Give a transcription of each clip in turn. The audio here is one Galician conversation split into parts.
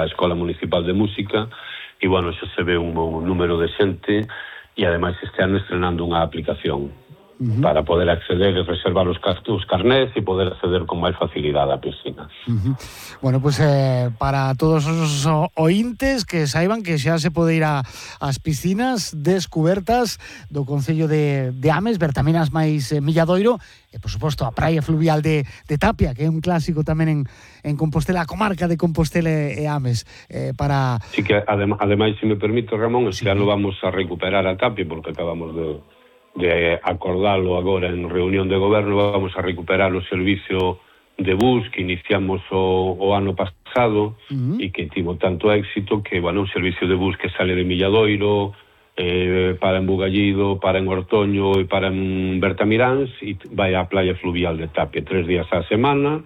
Escola Municipal de Música e, bueno, xa se ve un número de xente e, ademais, este ano estrenando unha aplicación para poder acceder e reservar os carnés e poder acceder con máis facilidade á piscina. Bueno, pues para todos os ointes que saiban que xa se pode ir ás piscinas descubertas do Concello de Ames, ver tamén as máis Milladoiro e, por suposto, a praia fluvial de Tapia, que é un clásico tamén en Compostela, a comarca de Compostela e Ames. Sí, que ademais, se me permite, Ramón, este ano vamos a recuperar a Tapia, porque acabamos de acordalo agora en reunión de goberno, vamos a recuperar o servicio de bus que iniciamos o ano pasado e que tivo tanto éxito que, bueno, un servicio de bus que sale de Milladoiro, para en Bugallido, para en Ortoño e para en Bertamiráns e vai á playa fluvial de Tapia 3 días á semana,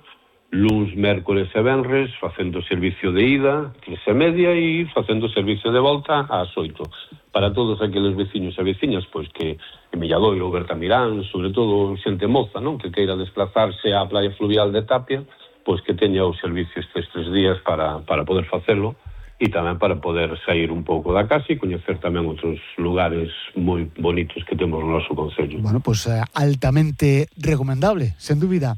luns, mércores e venres, facendo servicio de ida, 3:30, e facendo servicio de volta ás 8. Para todos aqueles veciños e veciñas, pois que en Milladoiro ou Bertamirán, sobre todo xente moza, non, que queira desplazarse á playa fluvial de Tapia, pois que teña o servicio estes 3 días para poder facelo e tamén para poder sair un pouco da casa e coñecer tamén outros lugares moi bonitos que temos no noso concello. Bueno, pues altamente recomendable, sen dúbida.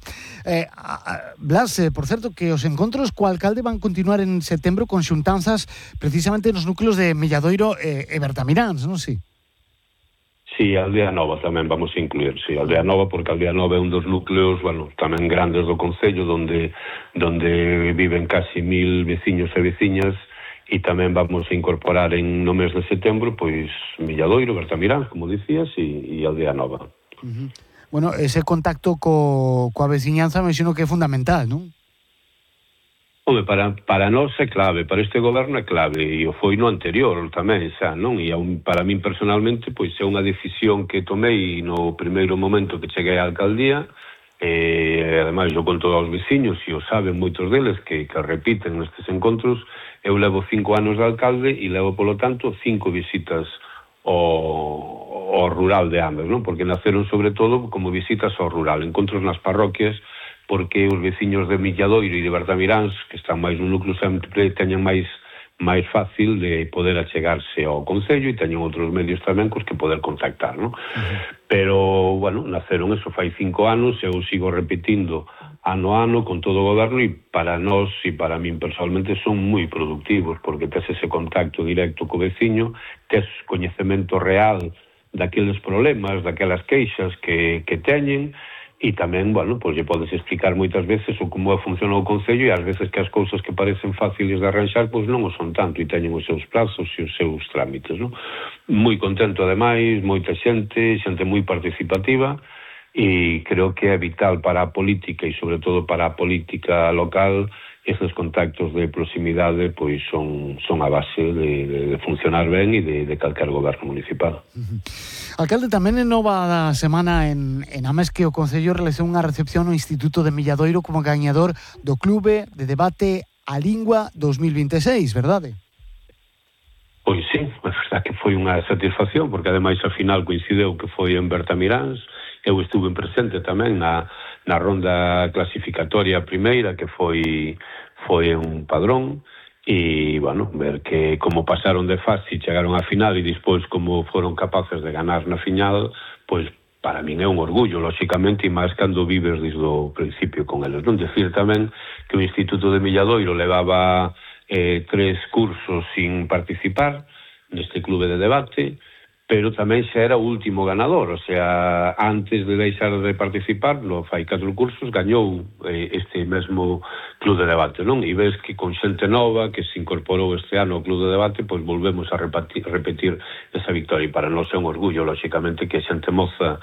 Blas, por certo, que os encontros co alcalde van continuar en setembro con xuntanzas precisamente nos núcleos de Milladoiro e Bertamiráns, non? Sí. Sí, Aldea Nova tamén vamos a incluir, sí, Aldea Nova, porque Aldea Nova é un dos núcleos, bueno, tamén grandes do concello, donde viven casi 1000 veciños e veciñas, e tamén vamos a incorporar no mes de setembro, pois, Milladoiro, Bertamirán, como dicías, e Aldea Nova. Bueno, ese contacto coa veciñanza me xino que é fundamental, non? Home, para nós é clave, para este goberno é clave, e o foi no anterior tamén, xa, non? E para min personalmente, pois é unha decisión que tomei no primeiro momento que cheguei á alcaldía, e ademais eu conto aos veciños, e o saben moitos deles que repiten nestes encontros. Eu levo 5 anos de alcalde e levo, polo tanto, 5 visitas ao rural de Ames, non? Porque naceron sobre todo como visitas ao rural, encontros nas parroquias, porque os veciños de Milladoiro e de Bertamiráns, que están máis no núcleo, sempre teñen máis fácil de poder achegarse ao concello e teñen outros medios tamén cos que poder contactar, non? Pero, bueno, naceron eso fai 5 anos, eu sigo repetindo ano a ano con todo o goberno, e para nós e para min personalmente son moi productivos, porque tes ese contacto directo co veciño, tes coñecemento real daqueles problemas, daquelas queixas que teñen, e tamén, bueno, pois lle podes explicar moitas veces o como funciona o concello, e ás veces que as cousas que parecen fáciles de arranxar, pois non o son tanto, e teñen os seus prazos e os seus trámites, non? Moi contento, ademais, moita xente moi participativa, e creo que é vital para a política e sobre todo para a política local estes contactos de proximidade, pois son a base de funcionar ben e de calquer goberno municipal. Alcalde, tamén en nova semana en Ames que o Concello realizou unha recepción no Instituto de Milladoiro como gañador do Clube de Debate a Lingua 2026, verdade? Pois sí, é verdade que foi unha satisfacción, porque ademais a final coincideu que foi en Bertamiráns. Eu estuve presente tamén na ronda clasificatoria primeira, que foi un Padrón, e, bueno, ver que como pasaron de fase e chegaron á final e despois como foron capaces de ganar na final, pois para min é un orgullo, lóxicamente, e máis cando vives desde o principio con eles. Non decir tamén que o Instituto de Milladoiro levaba 3 cursos sin participar neste clube de debate, pero tamén xa era o último ganador, o sea, antes de deixar de participar, fai 4 cursos, gañou este mesmo club de debate, non? E ves que con xente nova que se incorporou este ano ao club de debate, pois volvemos a repetir esa victoria, e para nós é un orgullo, lóxicamente, que xente moza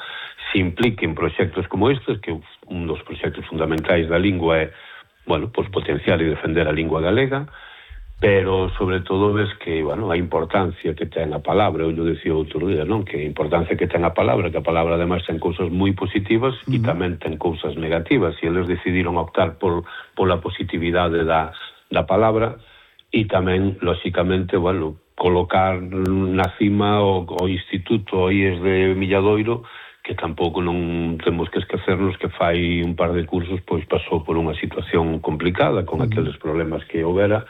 se implique en proxectos como estes, que un dos proxectos fundamentais da lingua é, bueno, pois potenciar e defender a lingua galega, pero sobre todo ves que, bueno, a importancia que ten a palabra, eu dicía outro día, non? Que a importancia que ten a palabra, que a palabra ademais ten cousas moi positivas e tamén ten cousas negativas, e eles decidiron optar pola positividade da palabra, e tamén, lóxicamente, bueno, colocar na cima o Instituto IES de Milladoiro, que tampouco non temos que esquecernos que fai un par de cursos pois pasou por unha situación complicada con aqueles problemas que houbera,